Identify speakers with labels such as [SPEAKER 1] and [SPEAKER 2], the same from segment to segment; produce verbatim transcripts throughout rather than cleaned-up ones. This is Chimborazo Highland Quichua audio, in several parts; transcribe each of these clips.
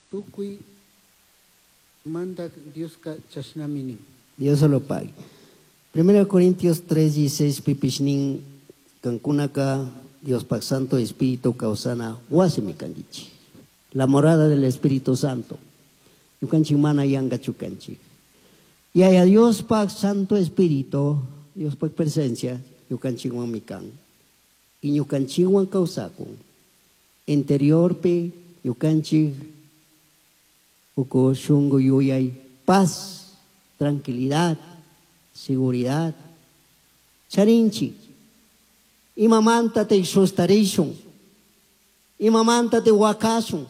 [SPEAKER 1] Tucui Mandac Diosca chashnami nin.
[SPEAKER 2] Dios lo pague. Primero Corintios tres, dieciséis pipish nin, cancunaca Diospaj Santo Espíritu causana huasimi canguichij. La morada del Espíritu Santo. Ñucanchik mana yangachu canchik. Yaya Diospaj Santo Espíritu, Diospaj presencia, ñucanchikwanmi kan. Y ñucanchikwan causakun. Interiorpi ñucanchik uku shungu yuyay, paz, tranquilidad, seguridad. Charinchik. Imamanta te sustarishun. Imamanta te wakashun.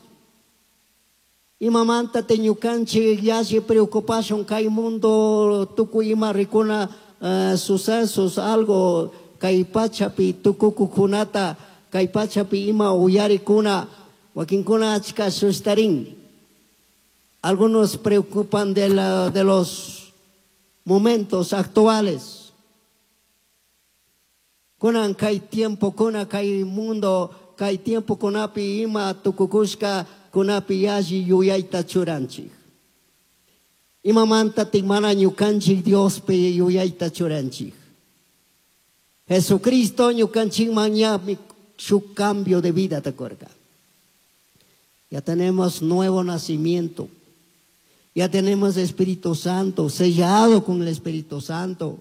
[SPEAKER 2] Imamanta te ñukanchik yalli preocupación kay mundo tukuy ima rikuna, eh, sucesos, algo kay pachapi tukukukunata, kay pachapi ima uyarikuna, wakinkuna achka sustarin. Algunos preocupan de, la, de los momentos actuales. Kunan kay tiempo, kuna kay mundo, kay tiempo kunapi ima tukukushka, kunapi yalli yuyayta churanchik. Imamanta mana ñukanchik Diospi yuyayta churanchik. Jesucristo ñukanchikman ñami su cambio de vida te acuerda. Ya tenemos nuevo nacimiento. Ya tenemos Espíritu Santo, sellado con el Espíritu Santo.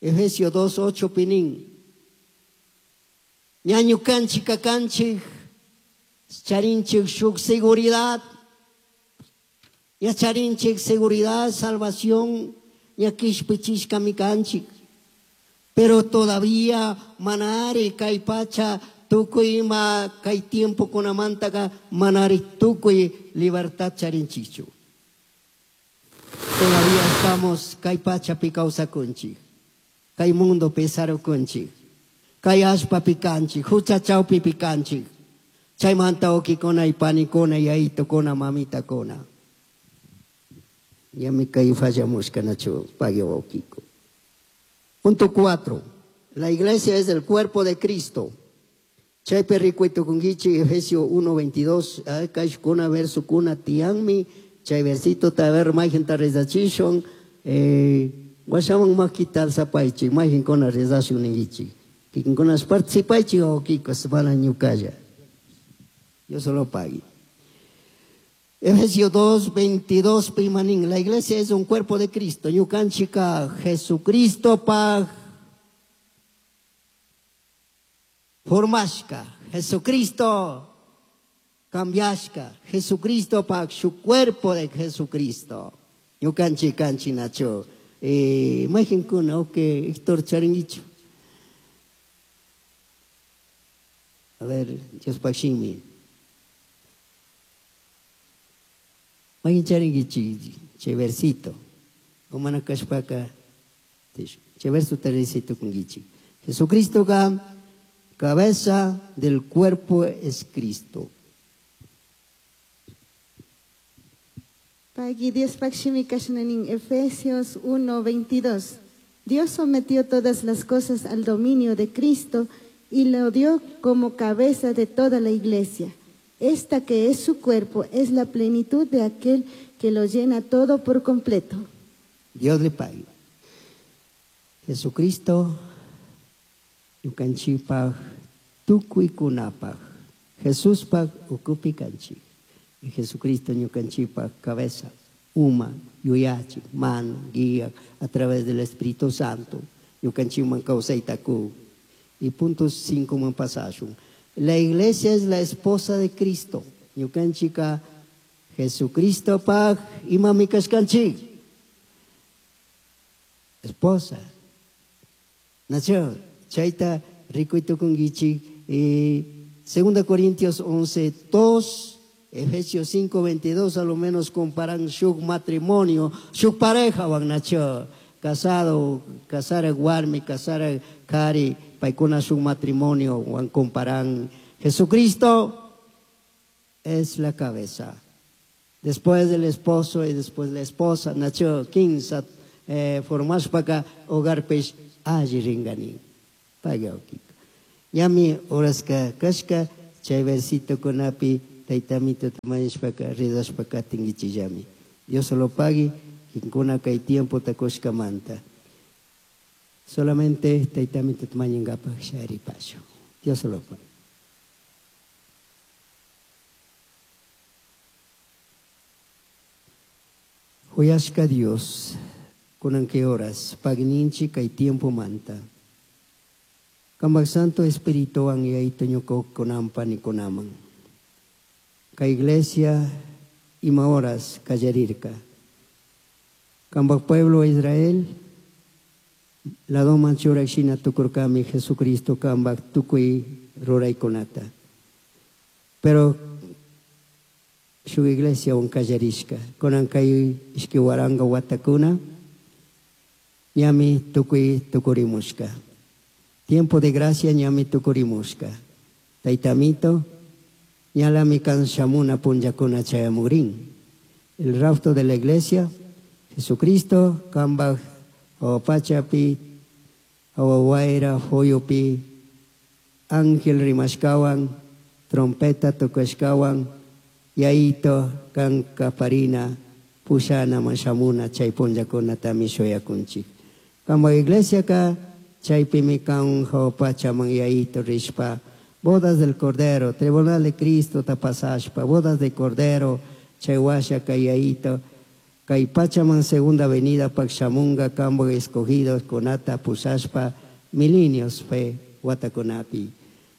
[SPEAKER 2] Efesios dos, ocho, pinin. Ñañu kanchik kakanchik, charinchik shuk seguridad. Ya charinchik seguridad, salvación, ya kishpichishka mi kanchik. Pero todavía manari kay pacha tukuy ima kay tiempo kunamantaka manari tukuy libertad charinchichu. Todavía estamos kay pacha kawsakunchik, kay mundo pesarukunchik, kay allpa pikanchik, hucha chawpi pikanchik. Chaymanta ukikuna y panikuna y aitokuna mamitakuna. Ya me caí fallamushka nacho pague ukiko. Punto cuatro. La iglesia es el cuerpo de Cristo. Chaypi rikuy tukunguichi Efesios uno veintidós, kashkuna verso kuna tianmi, chay versito ta ver mayhin ta rezachishon, eh, washaman makital sapaichi, mayhin kona rezashun ningichi. Kikinkuna participaichi o kikos mana ñukalla. Yo solo pague. Efesios dos, veintidós, pimanín. La iglesia es un cuerpo de Cristo. Ñukanchika Jesucristo pag formashka. Jesucristo cambiashka. Jesucristo pag su cuerpo de Jesucristo. Ñukanchi kanchi nacho. Eh, majinkuna, ok, Héctor Charinguicho. A ver, Dios pagshimi. Mayin charinguichi, che versito. Omana kashpaka, che verso teresito kungichi. Jesucristo ga, cabeza del cuerpo es Cristo.
[SPEAKER 3] Pagui Dios pagshimi kashnanin Efesios uno veintidós. Dios sometió todas las cosas al dominio de Cristo y lo dio como cabeza de toda la iglesia. Esta que es su cuerpo es la plenitud de aquel que lo llena todo por completo.
[SPEAKER 2] Dios le pague. Jesucristo, ñukanchikpaj, tukuykunapaj, Jesuspaj ukupi kanchik. Y Jesucristo ñukanchikpaj cabeza, uma, yuyachi, mano, guía a través del Espíritu Santo. Ñukanchikman kawsaytaku. Y punto cinco man pasashun. La iglesia es la esposa de Cristo. Ñukanchika Jesucristo paj imami kashkanchik. Esposa. Nacho, chayta rikuytukunkichik. Eh, Segunda Corintios once, dos, Efesios cinco, veintidós, a lo menos comparan su matrimonio, su pareja, wan nacho, casado, casar a warmi, casar a kari, paikuna su matrimonio, wan comparan. Jesucristo es la cabeza. Después del esposo y después la esposa, nacho, quince, eh, formashpaka hogar pech, alli ringani. Paga okiko. Yami horaska kashka, chay versito kunapi taytamituta mañashpaka rezashpa katinkichillami. Dios lo pague, kinkuna kay tiempota kushkamanta. Solamente taytamituta mañankapak sharipashun. Dios lo pague. Huyashka Dios, kunan kay horas, pagninchi kay tiempo manta. Kambak Santo Espíritu an yayto ñuka kunampa nikunaman. Kay iglesia ima horas kallarirka. Kambak pueblo Israel, ladoman churak shina tukurkami Jesucristo kambak tukuy ruraykunata. Pero shuk iglesia un kallarishka. Kunan kay ishki waranga watakuna, ñami tukuy tukurimushka. Tiempo de gracia ñami tukurimushka. Taytamito, ñalami kan shamuna punllakuna chayamugrin. El rapto de la iglesia, Jesucristo, kambaj, awapachapi, awawaira, foyupi, ángel rimashkawan, trompeta tukashkawan, yaito, kan kaparina, pushana mashamuna, chay punllakuna tami shuyakunchik. Kambaj iglesia ka, chaypimi kan hawapachaman yaito rishpa, bodas del Cordero, Tribunal de Cristo tapasashpa, bodas de Cordero, chay washa kay yaito, kay pachaman segunda avenida pakshamunga kambo escogidos kunata pusashpa, milenios fe watakunapi.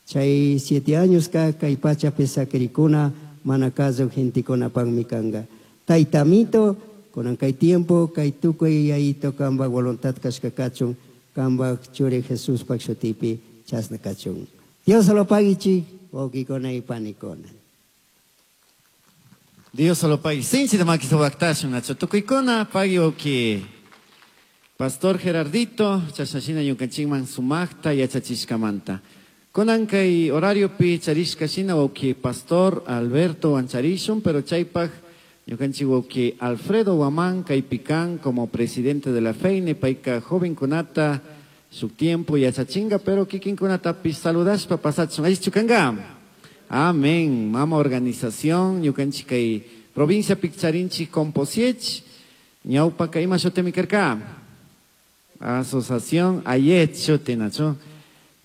[SPEAKER 2] Chay siete años ka kay pacha pesakirikuna, manakazo gentikuna pangmikanga. Taytamito, kunan kay tiempo, kay tukuy yaito kamba voluntad kashkakachun, kamba churi Jesús pakshutipi chasna kachun. Dios lo pague, wawkikuna y panikuna.
[SPEAKER 4] Dios lo pague. Sinchi de maquiso bactashun, nacho tukuykuna, pagui wawki. Pastor Gerardito, chashashina ñukanchikman sumaqta yachachishkamanta. Kunan kay horario pi charishka shina wawki Pastor Alberto Wancharishun, pero chaypaj ñukanchik wawki Alfredo Guamán kaypikan como presidente de la FEINE, payka joven kunata su tiempo yachachinga, pero kikin kunatapis saludashpa pasachun. Allichu kanga. Amén. Mama organización ñukanchik kay provincia Piccharinchi Composiech, ñawpa kay ima shutimi karka. Asociación Ayet shuti nacho.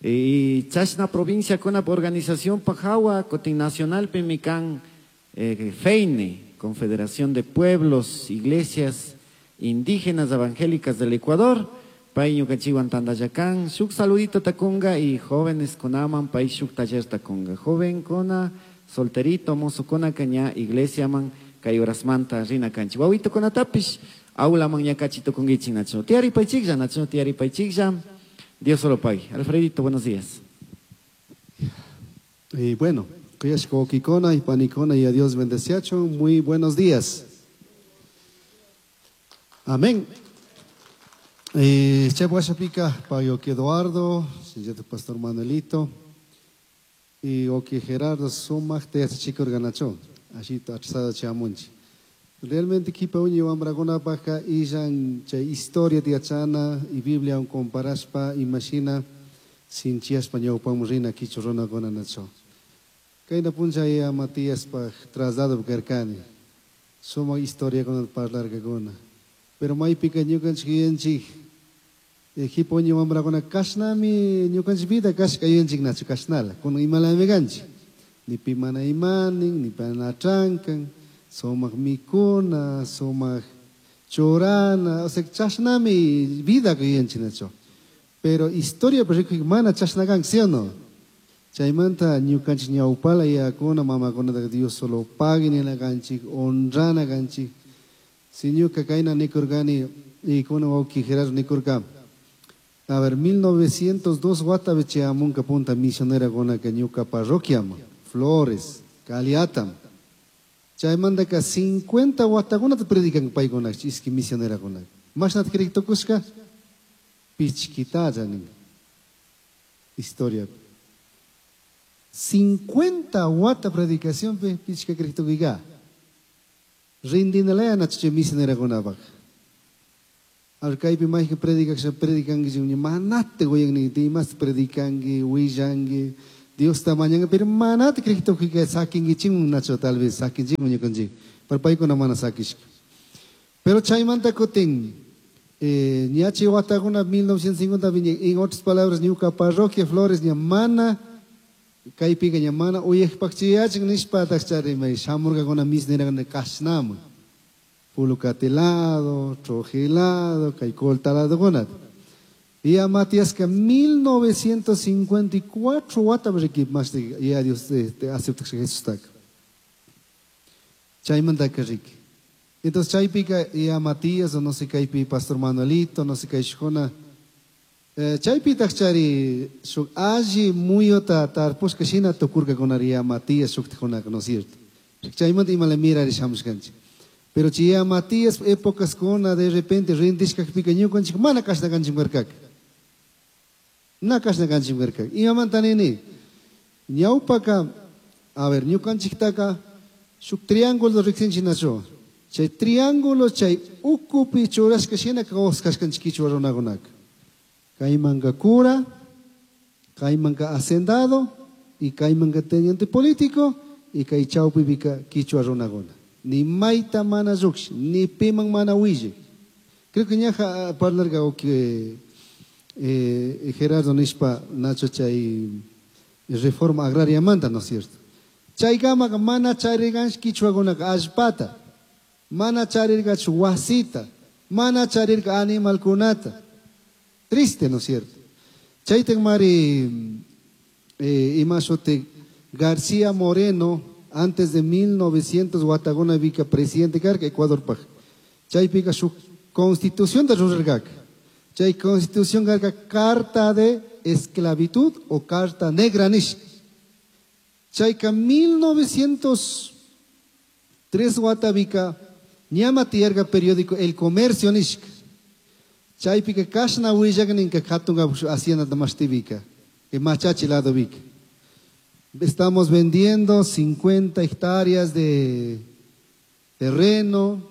[SPEAKER 4] Y chashna provincia kuna organización pajawa kotin nacional pimikan, eh, FEINE, Confederación de Pueblos, Iglesias Indígenas Evangélicas del Ecuador, pay ñukanchikwan tandayacán, shuk saludito takunga y jóvenes kunaman, pay shuk taller takunga. Joven kuna, solterito, mozo kuna, caña, iglesia man, kay horasmanta, rina kanchi. Wawito kuna tapish, aula man ñakachi tukungichi nacho. Tiari paychiklla, nacho, tiari paychiklla. Dios solo pague. Alfredito, buenos días.
[SPEAKER 5] Y bueno, Kuyashko Kikona y Panicona y a Dios bendeciacho. Muy buenos días. Amén. Eh, Che Guachapica, Payo Eduardo, Pastor Manuelito, y Oki Gerardo Sumach, te hace chico organacho, así achsada chamunchi. Realmente kipa uñi wambraguna paja illan chay historia tiachana y Biblia un comparaspa imagina sin chiaspa ñawpamurina kichu runakuna nacho. Kayna puncha ya Matías pa traslado karkani. Suma historia con el parlar kaguna. Pero maypika ñukanchik yuyanchik, kipa uñi wambraguna kashnami ñukanchik vida kashka yuyanchik nacho kashnala. Kunan imalami kanchik. Ni pi mana imanin, ni pana trankan. Sumaq mikuna, sumaq churana, o sea, chashnami vida yuyanchik nacho. Pero historia pues mana chashnakan, ¿sí o no? Chaymanta ñukanchik ñawpala yakuna mamakunata Dios solo pague ninakanchik, honrana kanchik. Si ñuka kayna nikurkani y kuna wawki Gerardo nikurka. A ver, mil novecientos dos watapi chayamunka punta misionera kunaka ñuka parroquiama, Flores, Caliatam. Chaymantaka cincuenta watakunata predican paykuna, iski misionera kunaka. Mashnata creek tukushka? Pichkitalla nin. Historia. Cincuenta wata predicación pe pichka creek tukuiga. Rindinalaya nacho misionera kunapaq. Alkaypi mayqa predicación predicanki manate goyanni dimas predicanki willanki Diosta mañanga, pero manata criktukika sakinkichikmun nacho tal vez sakinchikmun ñukanchik, pero paykuna mana sakishka. Pero chaymanta kutin eh, ñachi watakuna mil novecientos cincuenta en otras palabras ñuka parroquia Flores ña mana kaypika ña mana uyakpakchiyachin nishpa charimay shamurkakuna misniraqna kashnaman Pulucatilado, Trojilado, kay Coltaladokuna. Y a Matías que mil novecientos cincuenta y cuatro wata riki más de ya Dios este acepta que Jesús está. Chaymanta que riki. Entonces chaypika y a Matías o no sé kaypi Pastor Manuelito, no sé kay shukuna. Eh, chaypitaq chari shuk alli muyuta tarpushka shina tukurkakunaria Matías shuktikunaka, ¿no es cierto? Chaymanta imala mirari shamushkanchik. Pero chi ya Matías épocas kuna de repente rindishkakpika ñukanchik mana kashna kanchik karkaka. Na kashna kanchik karkaka. Imamanta nini? Ñawpaka, a ver, ñukanchiktaka shuk triángulo riksinchik nacho. Chay triángulo chay ukupi churashka shina kawsashkanchik kichwa runakunaka. Kaymanka cura, kaymanka hacendado y kaymanka teniente político y kay chawpipika kichwa runakuna. Ni mayta mana lluqshi, ni piman mana willi. Creo que ñaja parlarga o que, eh, Gerardo nishpa nacho chay reforma agraria manta, ¿no es cierto? Chaykamaqa mana charirganchik kichwakunaka allpata, mana charirgachu wasita, mana charirga animalkunata. Triste, ¿no es cierto? Chaytan mari, eh, imashote García Moreno, antes de mil novecientos wataguna vika presidente karka Ecuador paj. Chaypika su constitución de rurargaka. Chay constitución karka carta de esclavitud o carta negra nish. Chayka mil novecientos tres watavika ñama tiyarka periódico El Comercio nish. Chaypika kashna willakninka hatunga hacienda mastivika, que machachi lado vika. Estamos vendiendo cincuenta hectáreas de terreno,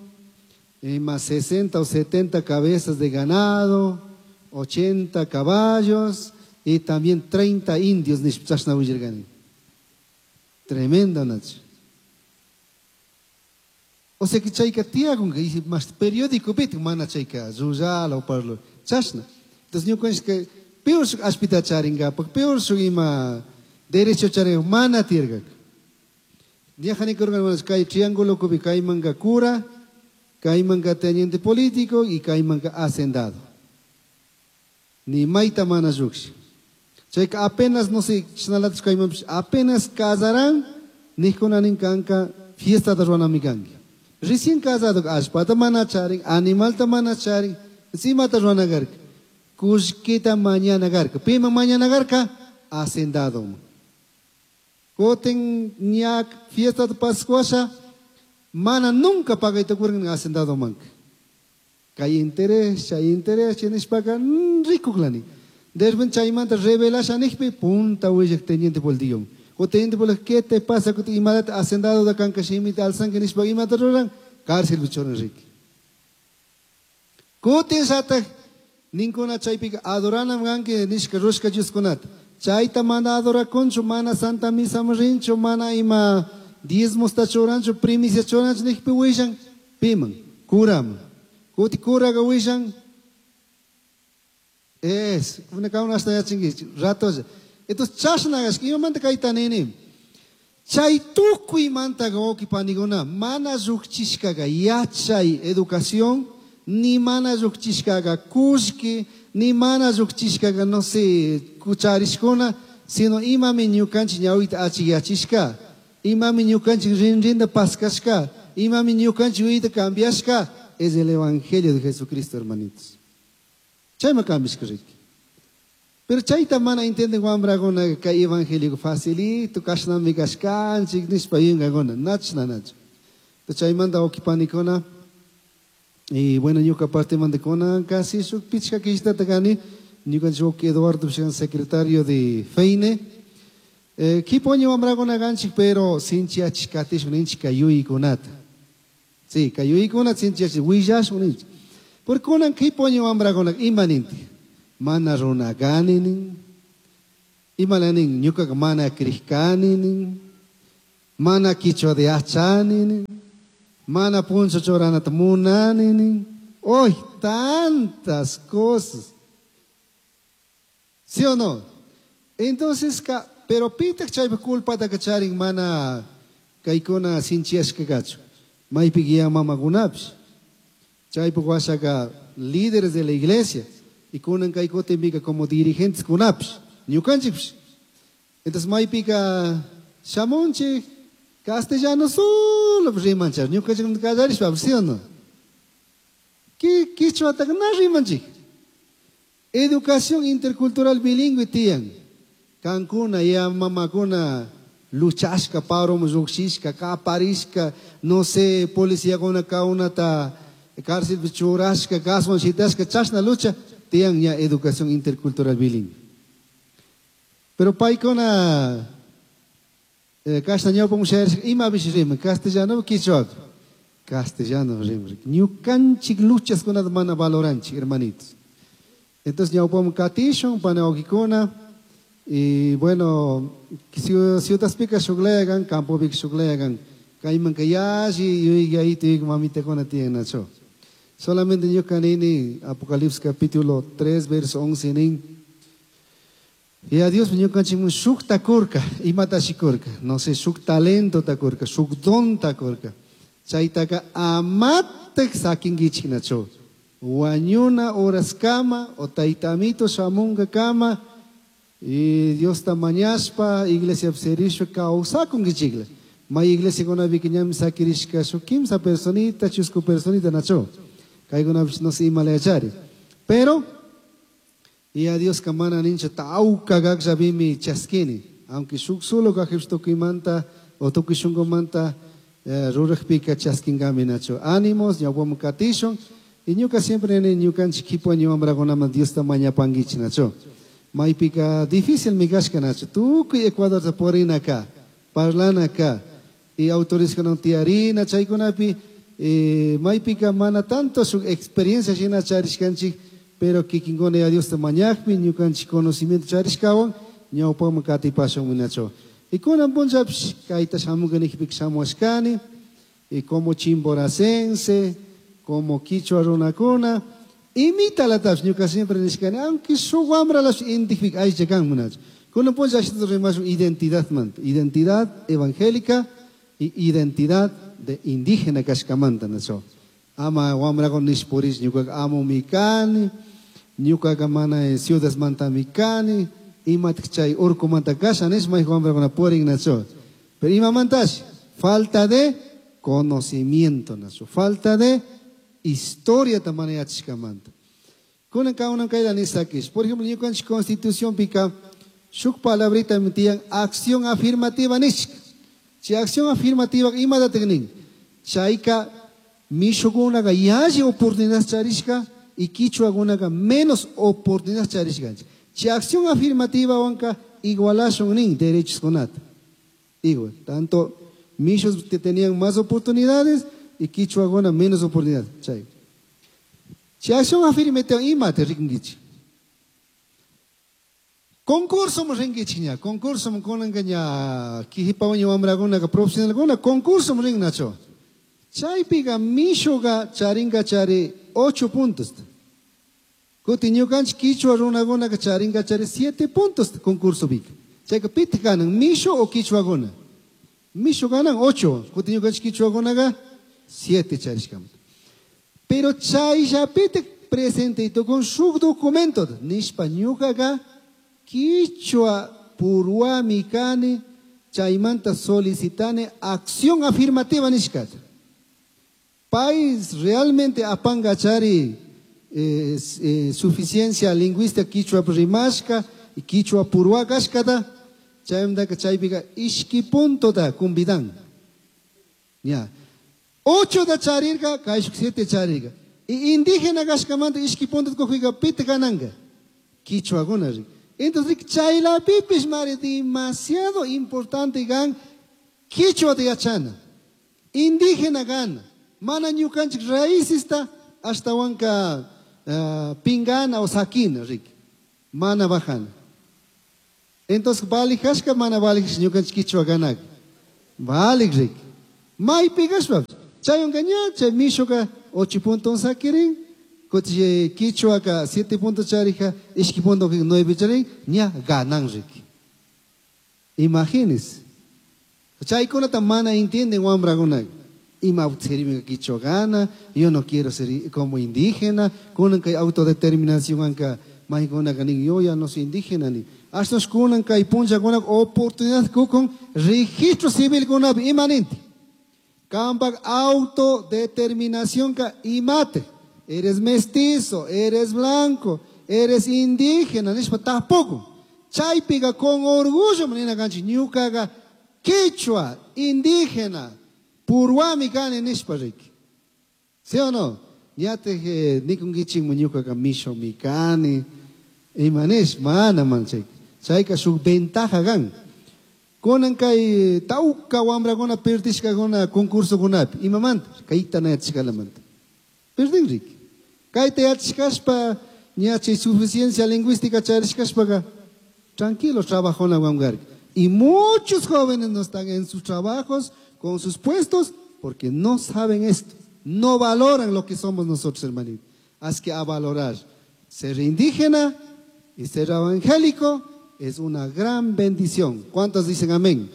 [SPEAKER 5] eh, más sesenta o setenta cabezas de ganado, ochenta caballos y también treinta indios. Tremenda noche. O sea que chayka tiyagun, que dice, más periódico pit, mana chayka, rurala o parlo, chashna. Entonces, ñukanchik que peor su aspita charinga, porque peor su ima derecho charinga, mana tiergak. Ñajani kurgan, manas, kay triángulo kubi, kay manga cura, kay manga teniente político y kay manga hacendado. Ni maita mana yukshi. Chayka apenas, no sé, chnalatas kay mampish, apenas casarán, nikunanin kanka, fiesta de ruanamikanki. Recién casado, allpata mana charin, animalta mana charin, simata ruanagarka. Kushkita mañana garka. Pima mañana garka, hacendado. Koten ñak fiesta de Pascuasha, mana nunca paga y te ocurren hacendado manca. Kay interés, chay interés, chay paga, rico clani. Después chay manta revela shanikpi, punta huella teniente por el día. O teniente por el ¿qué te pasa? Que te imadat hacendado de cancashimita al sangue nishpa imata ruran, cárcel bichón Enrique. Koten sata, ninkuna chaypika adoranam ganke nishka rushka yuskunat. Chayta mana adora concho, mana santa misa rincho, mana ima diezmos tachorancho, primicia chorancho, nishpi wishan, piman, kuram. Kuti kuraga wishan, es, una kauna hasta ya chingui, rato. Entonces, chashnagas, imamanta kayta nini. Chay tukuy manta goki paniguna, mana rukchishkaga yachay educación, ni mana rukchishkaga kushki, ni mana rukchishkaga, no sé, kucharishkuna, sino imami ñukanchik ñawita achiyachishka, imami ñukanchik rinrinda paskashka, imami ñukanchik uyita cambiashka, es el evangelio de Jesucristo, hermanitos. Chayma cambiashka riki. Pero chayta mana entienden wambraguna kay evangelio facilito, kashnami kashkanchik, nishpa yungaguna, nachna nach. Entonces chaymanta okipanikuna, y bueno, ñuka parte mandekuna, casi shuk pichka kishtata kani, ñukanchik wawki Eduardo Pishkan, secretario de Feine. Eh, kipoño wambraguna ganchik, pero sinchiachik katishun ninchik kayuykunata. Sí, kayuykunata sinchiachik, willashun ninchik. Porque kunan kipoño wambraguna ima ninti? Mana runa ganinin, Imala nin, ñukaqa mana krishkani nin, mana quichua de yachani nin, mana puncho churanata munani nin. ¡Uy, tantas cosas! ¿Sí o no? Entonces, ka, pero pitak chaypa culpata kacharin mana kaykuna sinchiyashka kachu. Maypi ya mamakunapish. Chaypa washaka líderes de la iglesia y kunan kaykutinpika como dirigentes kunapish, ñukanchikpish. Entonces maypika shamunchik castellano solo rimanchik, ñukanchik kallarishpa, ¿sí o no? ¿Qué quichuataka na rimanchik? Educación intercultural bilingüe tiyan. Kankuna ya mamakuna luchashka, paro llukshishka, kaparishka, no sé, policía kaunata cárcel churashka, gaswan shitashka, chashna lucha, tiyan ya educación intercultural bilingüe. Pero paykuna eh, kashna ñawpa mushayarishka, imapish riman, castellano quichua, castellano riman. Ñukanchik luchaskunata mana valoranchik, hermanitos. Entonces ñawpaman katishun, panawakikuna, y bueno, ciudadpika shukllayakan, campopika shukllayakan, kaymanka yalli yuyayta yuyay mamitakuna tiyan nacho. Solamente ñuka nini, Apocalipsis capítulo tres, verso once nin, y a Dios ñukanchikmun shukta kurka, imatashi kurka, no sé, shuk talento ta kurka, shuk don ta kurka. Chaytaka amatak sakinkichik nacho. Wañuna horas kama, o taytamito shamunga kama, y Dios ta mañashpa, iglesia serishpa kawsakunkichikla. May iglesia kunapika ñami sakirishka shuk kimsa personita, chusku personita nacho. Kaykunapish no sé imala yachari. Pero, y a Dios kamana nincha tauka gakllapimi chaskini. Aunque shuk solo kajpish tukuymanta o tukuy shunkumanta, eh, rurajpika chaskinkami nacho. Ánimos, ñawpaman katishun. Y ñuka siempre nini ñukanchik kipa ñuambrakunaman Diosta mañapankichik nacho. Maypika difícil mi kashka nacho. Tukuy Ecuadorta purina ka, parlana ka, y autorizkunawan tiyarina chaykunapi, eh, maypika mana tanto su experiencia shina charishkanchik, pero kikinkuna ya Diosta mañakpi ñukanchik conocimiento charishkawan ñawpaman katipashun nacho. Y kunan punllapish kayta shamunkanikpika shamuashkani, y como chimboracense, como quichua runakuna, imitalatapis ñuka siempre nishkani, aunque shuk wambralash identifica aycha kan munachu. Kunan punlla ashita rimashun identidad manta, identidad evangélica y identidad de indígena kashkamanta nacho. Ama wamrakuna nishpurish ñukaka amo mi kani, ñukaka mana ciudad manta mi kani, imatak chay urkumanta kasha nish may wamrakuna purin nacho. Pero imamantash, falta de conocimiento nacho, falta de historia tamana yachishkamanta. Kunan kaunan kayta nisakish. Por ejemplo, ñukanchik constitución pika shuk palabrita mitiyan acción afirmativa nishka. Chay acción afirmativa imatatak nin? Chayka mishukunaqa yalli oportunidad charishka y quichuakunaqa menos oportunidad charishkanchik. Chay acción afirmativa wanka igualashun nin derechos kunata. Igual, tanto mishus que tenían más oportunidades y quichuakuna menos oportunidades. Chay. Chay acción afirmativa imata rikunkichik. Concurso mo rinkichik ña, concurso mo kunanka ña, kijipawan ña wamrakunaka profesionalkuna, concurso mo rin nacho. Chaypiqa mishuqa charinka chari ocho puntos. Kuti ñukanchik quichua runakunaka charinka chari siete puntos concurso pika. Chayka pitaq kanan, mishu o quichuakuna? Mishu kanan ocho, kuti ñukanchik quichuakunaka siete charishkamanta. Pero chayllapitaq presente tukun shuk documento, nishpa ñukaka quichua purwami kani, chaymanta solicitane acción afirmativa nishkata. País realmente apangachari, eh, eh, suficiencia lingüística quichua rimashka y quichua purwa kashkata, chaymantaka chaypika ishki punto da kumbidan. Ya. Ocho da charirka, kayshuk siete charirka. Y indígena kashkamanta ishki punto kujika pita kananga. Quichuakuna rik. Entonces, chaylapipish mari demasiado importante gan quichua de yachana. Indígena gana. Mana ñukanchik raíces hasta wanka, uh, pingana o sakina, rik. Mana bajana. Entonces, valijashka mana valij ñukanchik kichwa kanak. Valij rik. Maypi kashpa. Chaywanka ña, chay mishuka ocho punto sakirin, kuti kichwaka siete punto charija, ishki punto nueve charin, ña ganan rik. Imagínense. Chaykunata mana entienden wambrakunak. Ima sirve kichwa gana, yo no quiero ser como indígena, kunan kay autodeterminación anka maykunaka nin, yo ya no soy indígena ni. Ashtos kunan kay punchakunak oportunidad kukun registro civil kunapi imanente. Kampak autodeterminación ka imate. Eres mestizo, eres blanco, eres indígena, nishpa tampoco. Chaypiga con orgullo manina kanchik ñukaga kichwa indígena purwami kani nishpa riki. ¿Sí o no? Ñate nikunkichik ñukaga misho mi kani. Imanish mana man chay. Chayka shuk ventaja gan. Kunan kay tawka wamrakuna perdishkakuna concursokunapi. Imamanta? Kayta na yachashkalamanta. Perdin riki. Kayta yachashkashpa ña chay suficiencia lingüística charishkashpaqa tranquilo trabajona wamgarka. Y muchos jóvenes no están en sus trabajos, con sus puestos, porque no saben esto. No valoran lo que somos nosotros, hermanito. Haz que a valorar ser indígena y ser evangélico es una gran bendición. ¿Cuántos dicen amén?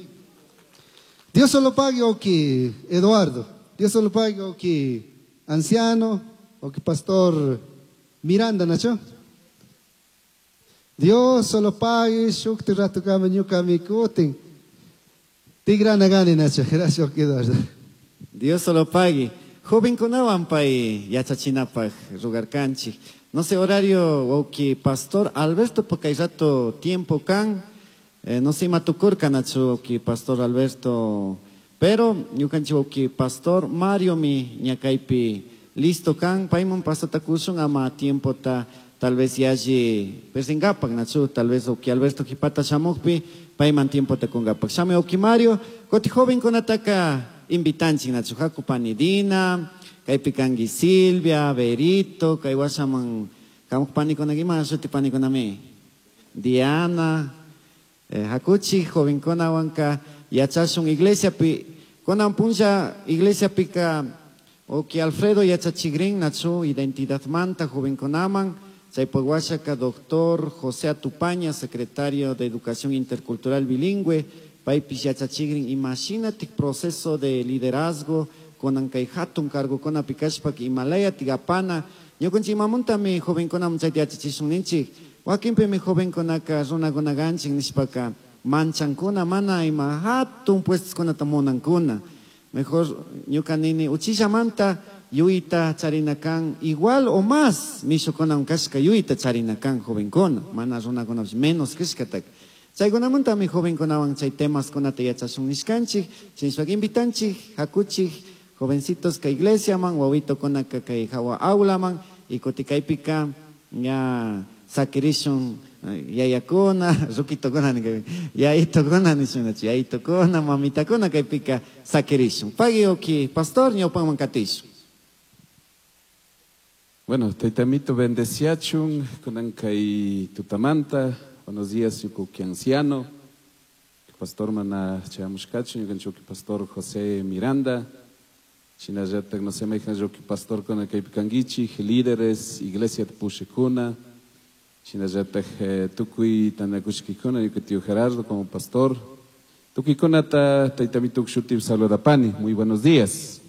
[SPEAKER 5] Dios se lo pague, oki Eduardo. Dios se lo pague, oki anciano, oki pastor Miranda, Nacho. Dios se lo pague, shukti ratu kama ñuka mikutin. Tigrana gani, Nacho. Gracias, oki Eduardo.
[SPEAKER 4] Dios se lo pague. Joven kunawan pay yachachinapaj rugarkanchik. No sé, horario, oki pastor Alberto, porque hay rato tiempo kan, eh, no sé, matukurka, Nacho, oki pastor Alberto, pero ñukanchik oki pastor Mario mi ñakaypi listo kan, payman pasatakushun ama tiempo ta, tal vez yaji persingapak, Nacho, tal vez oki Alberto jipata shamukpi, payman tiempo ta kungapak. Shame oki Mario, koti joven kunataka invitanchik, Nacho, haku panidina, kaypi kanki Silvia, Berito, kay washaman kamuk panikuna ima shuti panikunami, Diana, eh, hakuchi jovenkunawanka yachashun iglesiapi, kunan punlla iglesiapika oki Alfredo yachachigrin, Nacho, identidad manta jovenkunaman, chaypaq washaka doctor José Atupaña, secretario de Educación Intercultural Bilingüe, paypis yachachigrin imagínate proceso de liderazgo kunan kay hatun cargokuna pikashpa Himalaya tigapana ñukanchik imamuntami jovenkunaman chayta yachachishun ninchik wakinpimi jovenkunaka runakuna kanchik nishpaka manchankuna mana ima hatun puestoskunata munankuna mejor ñuka nini uchillamanta yuyta charina kan igual o más mishukunawan kashka yuyta charina kan jovenkuna mana runakunapish menos kashkataka. Chaykunamantami jovenkunawan chay temaskunata yachashun nishkanchik chinishpaka invitanchik hakuchik jovencitos ka iglesia man, wawito kunaka kay hawa aula man, y kutikaypika ña sakirishun yayakuna, rukitokuna, yayitokuna nishun, yayitokuna, mamitakuna kaypika sakirishun. Pagui oki pastor ñawpanman katishun.
[SPEAKER 6] Bueno, taytamito bendeciachun, kunan kay tutamanta, buenos días yukuki anciano, pastor mana chayamushkachun, yukanchuki pastor José Miranda, shinallatak no sé mayhan yuki pastor kuna kaypi kankichik, líderes, iglesia pushikuna, shinallatak eh, tukuy tanakushkikuna, yuki tío Gerardo como pastor, tukuykunata taytamituk shuti saludapani, muy buenos días.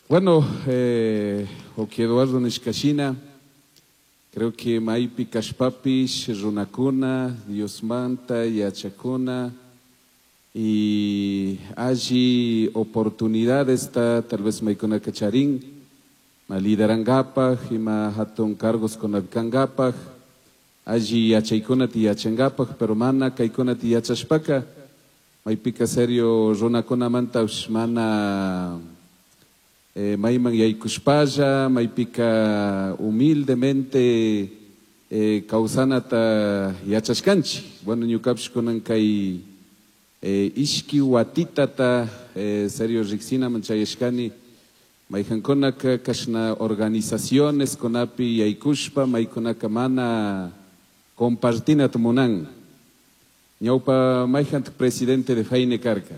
[SPEAKER 6] Bueno, eh, oki Eduardo nishkashina, creo que maypi kashpapish, runakuna, Diosmanta, yachakuna, y allí oportunidades está tal vez maykuna kacharin, ma liderangapaj, ima hatun cargos kunapikangapaj, allí yachaykuna ti yachangapaj, pero mana kaykuna ti yachashpaka, maypika serio runakunamanta mana eh, mayman yaykushpalla, maypika humildemente eh, kawsanata yachashkanchik. Bueno, ñukapish kunan kay eh, ishki watitata eh, serio riksinaman chayashkani, mayhankunaka kashna organizaciones kunapi yaykushpa, maykunaka mana Compartina munan. Ñawpa mayhant presidente de Feine karka.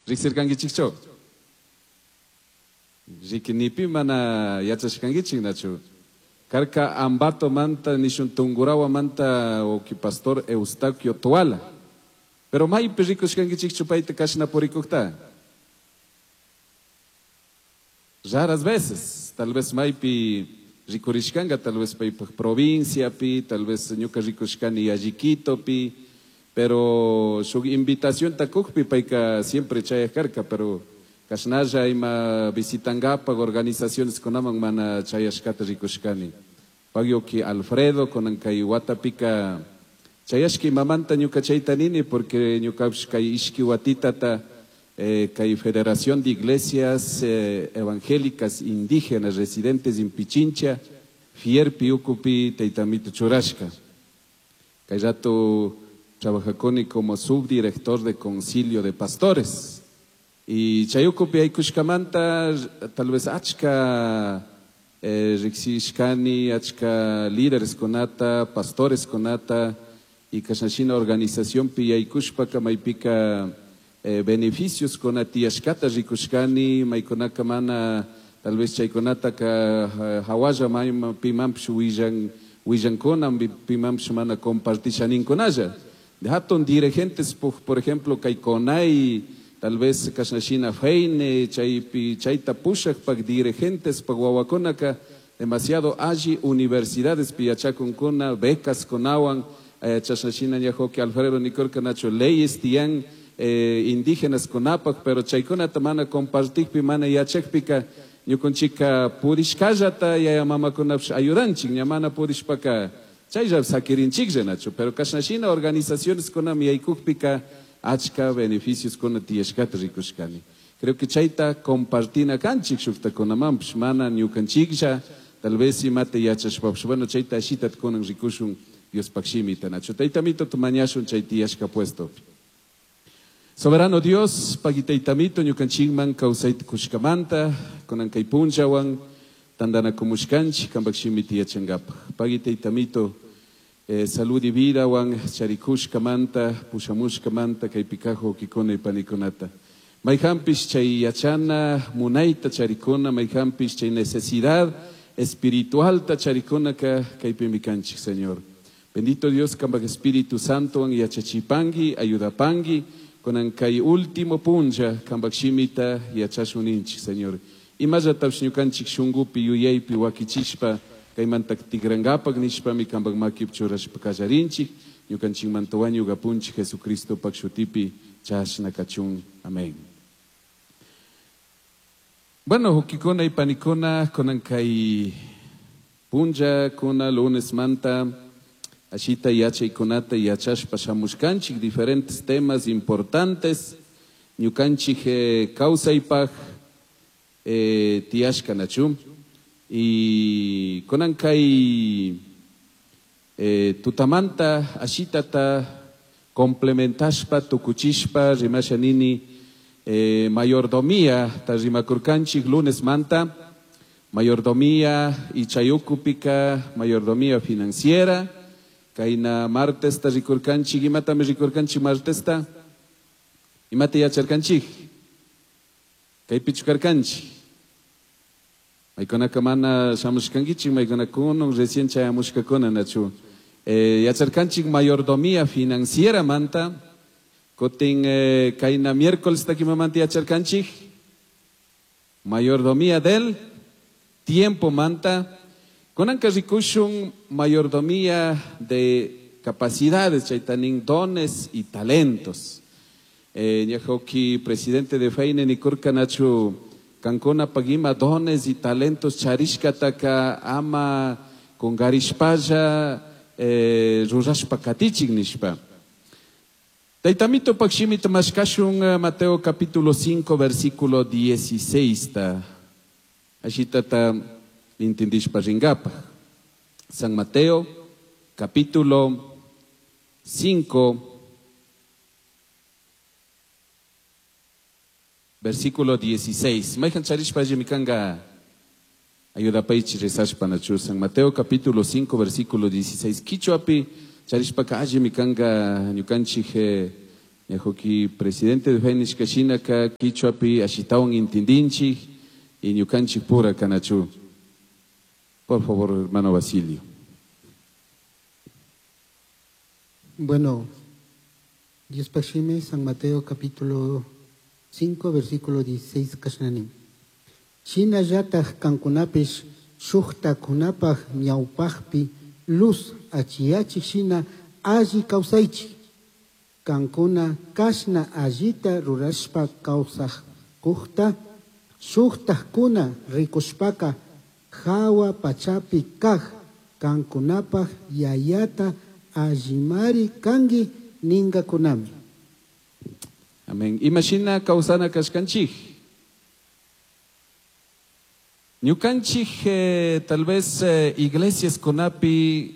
[SPEAKER 6] Riqsirkankichikchu? Riki nipi mana yachashkankichik nachu. Karka Ambato manta nishun Tungurahua manta oki pastor Eustaquio Toala. Pero maypi rikushkankichikchu payta kashna purikukta. Raras veces, tal vez maypi rikurishkanga, tal vez paypaj provinciapi, tal vez ñuka rikushkani Alliquitopi, pero shuk invitación takukpi payka siempre chayaj karka, pero kashnalla ima visitangapaj organizaciones kunaman mana chayashkata rikushkani. Pagyoki Alfredo kunan kay watapika chayashki imamanta ñuka chayta nini, porque ñukapish kay ishki watitata eh, kay Federación de Iglesias eh, Evangélicas Indígenas Residentes en Pichincha, Fierpi ukupi taytamito churashka. Kay rato trabajakuni como subdirector de Concilio de Pastores. Y chayukupi aykushkamanta tal vez achka eh, riksishkani, achka líderes kunata, pastores kunata, y kashnashina organización pi aykushpaka maypika eh, beneficios kunatiyashkata rikushkani, maykunaka mana tal vez chaykunataka hawalla mayma pimanpish willan, willankuna, pimanpish mana compartishaninkunalla. De hatun dirigentes, por, por ejemplo, kay Conai, tal vez kashnashina Feine, chaypi, chayta pushakpak dirigentes pak wawakunaka, demasiado alli universidades piyachakunkuna, becas kunawan, eh, chashnashina ñajoki Alfredo nikurka nacho leyes tiyan eh, indígenas kunapak, pero chaykunata mana compartikpi, mana yachakpika, ñukunchika purishkallata yaya mamakunapish ayudanchik, ña mana purishpaka chaylla sakirinchiklla nacho, pero kashnashina organizaciones kunami yaykukpika achka beneficios kuna tiyashkata rikushkani. Creo que chayta compartina kanchik shuktakunamanpish, mana ñukanchiklla, tal vez imata yachashpapish, bueno, chayta ashitat kunan rikushun Diospaq shimita nacho. Taytamito tumañashun chay tiyashka puesto. Soberano Dios, pagitaytamito ñukanchikman kawsayta kushkamanta, kunan kay punllawan tandanakumuskanchik kanpak shimita yachankapak. Pagitaytamito eh, salud y vida wan charikushkamanta, pushamushkamanta kaypi kaj wawkikuna y panikunata. Mayhampish chay yachana munayta charikuna, mayhampish chay necesidad espiritualta charikunaka kaypimi kanchik, Señor. Bendito Dios, kanpak Espíritu Santo wan yachachipangi, ayudapangi, kunan kay último punlla kanpak shimita yachashuninchik, Señor. Imallatapish ñukanchik shunkupi yuyaypi wakichishpa kaymanta tikrankapak nishpami kanpak makipi churashpa kallarinchik, ñukanchikmanta wañukapunchik Jesucristopak shutipi chashna kachun. Amén. Bueno, wawkikuna y panikuna, kunan kay punlla kuna lunes manta ashita yachaykunata yachashpa shamushkanchik diferentes temas importantes ñukanchik eh, kawsaypaj eh, tiyashka nachu. Y kunan kay eh, tutamanta ashitata complementashpa tukuchishpa rimasha nini eh, mayordomía ta rimakurkanchik lunes manta, mayordomía y chayukupika, mayordomía financiera. Kayna martes ta rikurkanchik, imatami rikurkanchik martesta? Imata yacharkanchik? Kaypichu karkanchik? Maykunaka mana shamushkankichik, maykunaka kunan recién chayamushkakuna nachu. Eh, yacharkanchik mayordomía financiera manta, kutin eh, kayna miércoles takimamanta yacharkanchik, mayordomía del tiempo manta. Kunanka rikushun mayordomía de capacidades, chaytanin dones y talentos. Eh, ñajoki presidente de Feine nikurka nachu kankuna pagima dones y talentos charishkataka ama kungarishpalla eh, rurashpa katichik nishpa. Taytamito pakshimita mashkashun Mateo capítulo cinco versículo dieciséis ta. Ashitata intindishpa ringapa. San Mateo capítulo cinco versículo dieciséis. Mayhan charishpa allimikanga Ayudapaichi rezashpa nachu. San Mateo capítulo cinco versículo dieciséis. Quichuapi charishpaka allimi kanka ñukanchik ñajuki presidente de Fénix kashinaka quichuapi ashitawan intindinchik y ñukanchik pura kanachu. Por favor, hermano Basilio.
[SPEAKER 1] Bueno, Dios pashime, San Mateo capítulo cinco, versículo dieciséis, kashnani. Shina llataj kankunapish shujtakunapaj ñawpajpi luz achiyachik shina alli kawsaychik. Kankuna kashna allita rurashpa kawsajkujta shujtajkuna rikushpaka hawa pachapi kaj kankunapaj yayata allimari kanki ningakunami.
[SPEAKER 6] Amén. Imashina kawsana kashkanchik. Ñukanchik eh, tal vez eh, iglesias kunapi,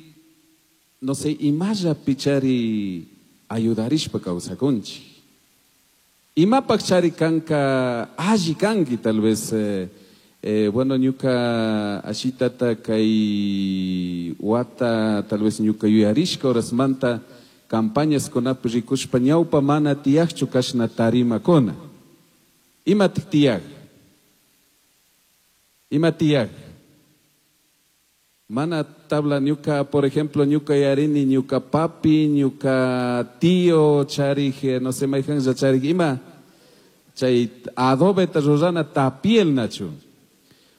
[SPEAKER 6] no sé, imalla pichari ayudarishpa kawsakunchik. Imapak chari kanka alli kanki tal vez eh, eh, bueno, ñuka ashitata kay wata tal vez ñuka yuyarishka horasmanta campañas kunapi rikushpa ñawpa mana tiyaqchu kashna tarimakuna. Imatik tiyaq? Ima tiyaq? Mana tabla ñuka, por ejemplo, ñuka yarini, ñuka papi, ñuka tío, charij, no sé, mayjanja charij, ima, chay adobe ta rurana tapiel nachu.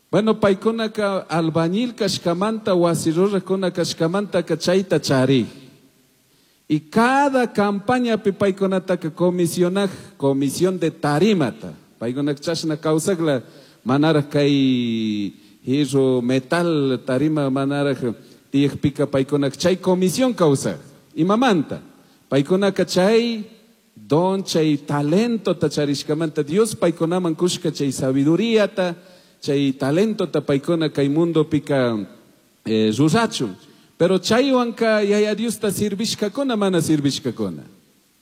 [SPEAKER 6] Bueno, paykunaka albañil kashkamanta, wasi rurajkuna kashkamanta ka chayta charij. Y cada campaña pi paykunataka comisionaj, comisión de tarimata. Paykunaka chashna kawsakla, manaraj kay hierro metal tarima manaraj tiyajpika paykunaka chay comisión kawsaj. Imamanta, paykunaka chay don, chay talento ta charishkamanta, Dios paykunaman kushka chay sabiduría ta, chay talento ta paykuna kay mundo pika eh, rurachun. Pero chaywanka yaya Dios ta sirvishkakuna mana sirvishkakuna.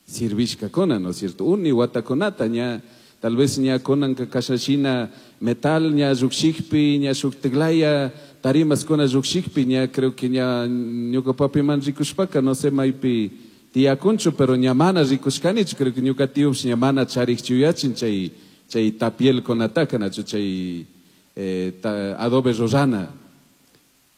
[SPEAKER 6] Sirvishkakuna, ¿no es cierto? Uni watakunata ña, tal vez ña kunanka kashashina metal ña rukshikpi, ña shuktiglaya tarimas kuna rukshikpi, ña creo que ña ñuka papi man rikushpaka, no sé maypi tiyakunchu, pero ña mana rikushkanichu, creo que ñuka tiyush ña mana charikchuyachin chay, chay tapiel kunataka, nachu chay eh, ta, adobe rurana.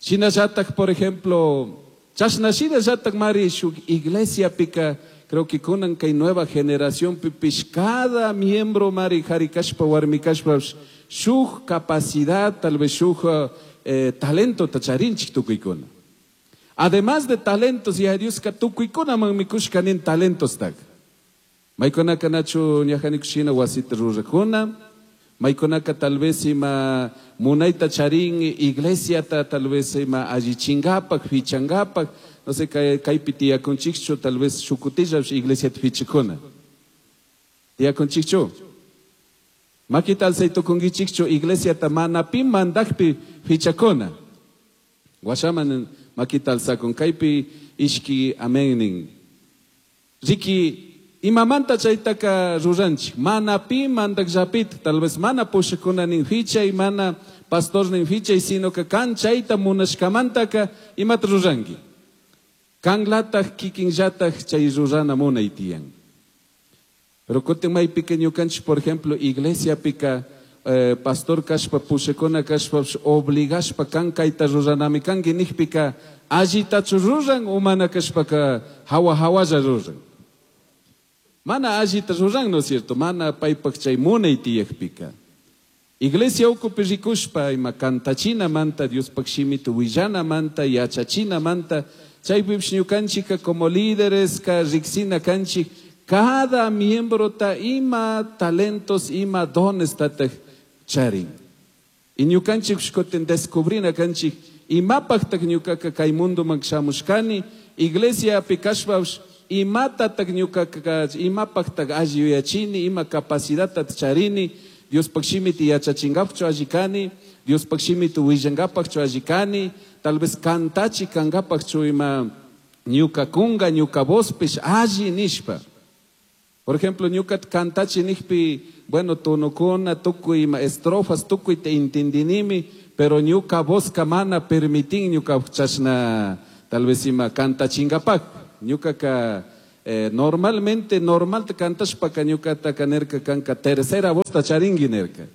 [SPEAKER 6] Shinallatak, por ejemplo, chashna shinallatak mari shuk iglesia pika, creo que kunan kay nueva generación pipish cada miembro mari jari kashpa warmi kashpa shuk capacidad, tal vez shuk eh, talento tacharinchik tukuykuna. Además de talentos, ya Dios ka tukuykuna man mikushka nin talentos tak. Maykunaka nachu ñajanikushina wasita rurakuna. Maykunaka tal vez ima munayta charin iglesiata, tal vez ima allichingapak, fichangapak, no sé, kaypi tiyakunchikchu, tal vez shukutilla iglesiata fichikuna. Tiyakunchikchu. Maki tal saytukunkichikchu iglesiata mana pi mandakpi fichakuna. Washaman maki tal sakun kaypi ishki amennin. Riki imamanta chaytaka ruranchik, mana pi mandakllapita, tal vez mana pushakuna nin fichay, mana pastor nin fichay, sino que kan chayta munashkamantaka imata ruranki. Kanlataj kikinllataj chay rurana munay tiyan. Pero kutin maypika ñukanchik, por ejemplo, iglesia pika eh, pastor kashpa pushakuna kashpa obligashpa kan kayta ruranami kanki nijpika allitachu ruran o mana kashpaka hawa hawalla ruran. Mana allita ruran, ¿no es cierto? Mana paypak chay munay tiyajpika. Iglesia ukupi rikushpa ima kantachina manta, Diospak shimita willana manta, yachachina manta, chaypipish ñukanchika como líderes ka riksina kanchik, cada miembro ta ima talentos, ima dones tataj charin. Y ñukanchik kutin descubrina kanchik, imapaktak ñukaka kay mundoman shamushkani, iglesia pikashpash, imatatak ñukaka, imapaktak alli yuyachini, ima capacidad charini, Diospaq shimita yachachingapchu alli kani, Diospaq shimita willangapaqchu alli kani, tal vez kantachi kangapaqchu ima ñuka kunga, ñuka vospish alli nishpa. Por ejemplo, ñuka cantachi nijpi, bueno, tonokuna, tukuy ima estrofas, tukuy te entendinimi, pero ñuka vozka mana permitin ñuka chashna tal vez ima cantachingapak. Ñuka ka eh, normalmente, normal te cantashpaka ñukata kanerka kanka tercera voz ta charingui nerka.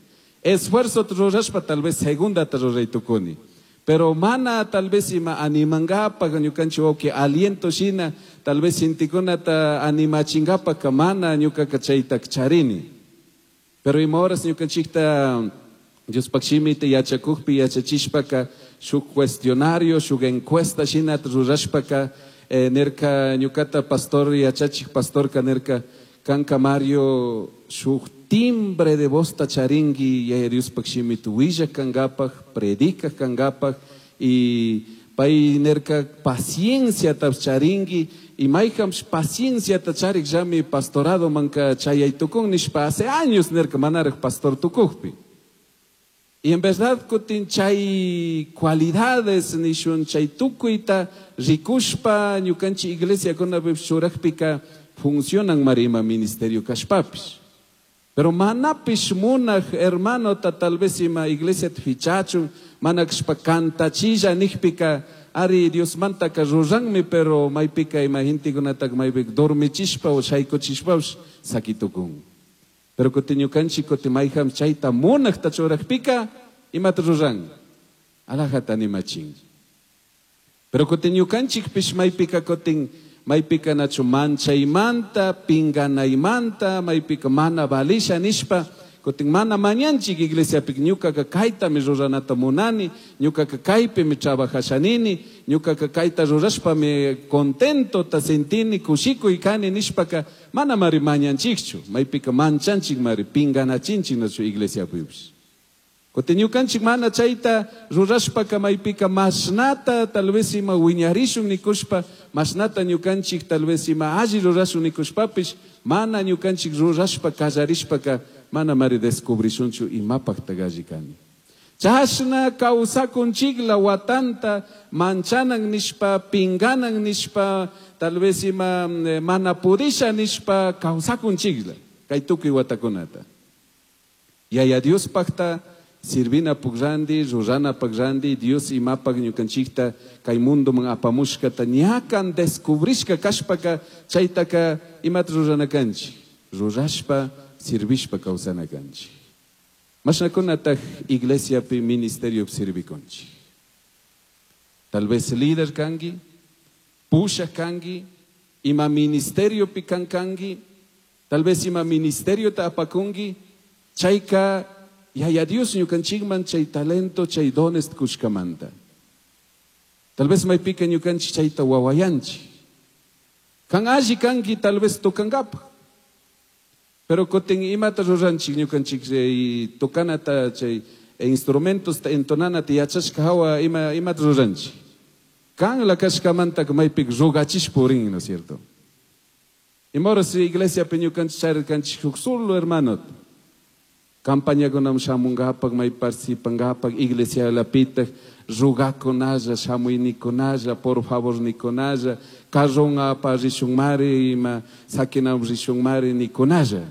[SPEAKER 6] Esfuerzo rurashpa tal vez segunda ta ruray tukuni. Pero mana tal vez ima animangapa ñukanchik wawki aliento shina tal vez sintikunata animachingapa mana ñukaka chayta charini. Pero ima horas ñukanchikta Diospaq shimita yachakukpi yachachishpaka shuk cuestionario, shuk encuesta shina rurashpaka eh, nerka ñukata pastor yachachik pastorka nerka kanka Mario shuk timbre de voz ta charingui yaya Diospaq shimita willak kankapaj, predicak kankapaj y pay nerka paciencia ta charingui y mayjam paciencia ta charik llami pastorado manka chayay tukun nishpa hace años nerka manaraj pastor tukukpi. Y en verdad kutin chay cualidades nishun chay tukuyta rikushpa ñukanchik iglesia kunapi churakpika funcionan marima ministerio kashpapish. Pero manapish munaj hermano ta tal vez ima iglesia fichachun manakshpa kantachilla nijpika ari Dios mantaka ruranmi pero maypika ima gentekunataka maypika dormichishpa o shaykuchishpapish sakitukun. Pero kutin ñukanchik kutin mayjam chayta munajta churakpika imata ruran alajata animachin. Pero kutin ñukanchikpish maypika kutin maypika nachu manchaymanta pinganaymanta maypika mana valisha nishpa kutin mana mañanchik iglesiapik ñukaka kaytami ruranata munani ñukaka kaypimi trabajashanini ñukaka kayta rurashpami contento ta sentini kushikuy kani nishpaka mana mari mañanchikchu maypika manchanchik mari pinganachinchik nachu iglesiapipish. Kutin ñukanchik mana chayta rurashpaka maypika mashnata tal vez ima wiñarishun nikushpa mashnata ñukanchik tal vez ima alli rurashun nikushpapish mana ñukanchik rurashpa kallarishpaka mana mari descubrishunchu imapaqta alli kani. Chashna kawsakunchikla watanta manchanan nishpa pinganan nishpa tal vez ima mana pudisha nishpa kawsakunchikla kay tukuy watakunata. Yaya Diospaqta sirvina pugrandi, rurana pagrandi, Dios imapaq ñukanchikta kay mundoman apamushkata ñakan descubrishka kashpaka chaytaka imata rurana kanchik, rurashpa sirvishpa kawsana kanchik. Mashnakunataq iglesiapi ministeriopi sirvikunchik. Tal vez líder kanki, pushaq kanki, ima ministeriopi kankanki, tal vez ima ministeriota apakunki, chayka Yaya Dios ñukanchikman chay talento, chay dones kushkamanta. Tal vez maypika ñukanchik chayta wawayanchik. Kan alli kanki tal vez tokankapaj. Pero kutin imata ruranchik ñukanchik tokanata chay instrumentos ta entonanata yachashka hawa ima imata ruranchik. Kan la kashkamanta maypik rugachishpa purin, ¿no es cierto? Ima horas iglesiapi ñukanchik charirkanchik huk solo hermano. Campañakunam shamungapak, may participangapak, iglesia lapitaq, rugakunalla, shamuynikunalla, por favor nikunalla, carron apa rishunmari, ima sakinam rishunmari nikunalla.